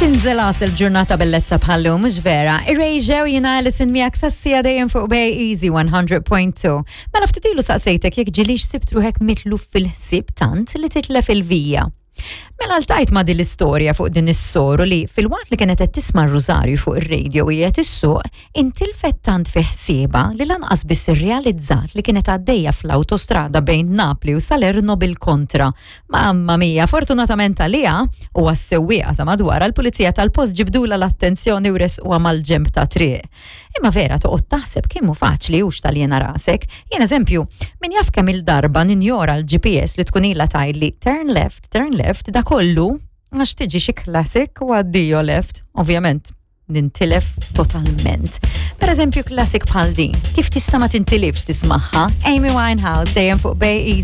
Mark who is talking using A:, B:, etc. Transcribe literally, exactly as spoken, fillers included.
A: Tinżel għasel ġurnata bellezza bħal-lum, mhux vera. Irejġew jiena Alison miegħek sas-siegħa dejjem fuq Bay Easy one hundred point two. Mela ftit ilu saqsejtek jekk ġilix sibt ruħek mitluf fil-ħsieb tant li titlef il-vija. Mela ltqajt ma' din l-istorja fuq din is-soru li filwaqt li kienet qed tisma' r-rużarju fuq ir-radio u qed issuq, intilfet tant fi ħsiebha li lanqas biss irrealizzat li kienet għaddejja fl-awtostrada bejn Napli u Salerno bil-kontra. Mamma mia, fortunatament għaliha u għas-sewwieqa ta' madwar, l-pulizija tal-post ġibdula l-attenzjoni u resquha mal-ġemb ta' triq. Imma vera toqgħod taħseb kemm hu faċli hux taljena rasek. Jien eżempju, min jaf kemm il-darba ninjora l-G P S li tkun ilha tgħidli "turn left, turn left", da kollu għax tiġi xi classic u addio left. Ovvjament, nintilef totalment. Per eżempju, classic bħal din, kif tista' ma tintilifx tismagħha? Amy Winehouse dejjem fuq Bay Easy.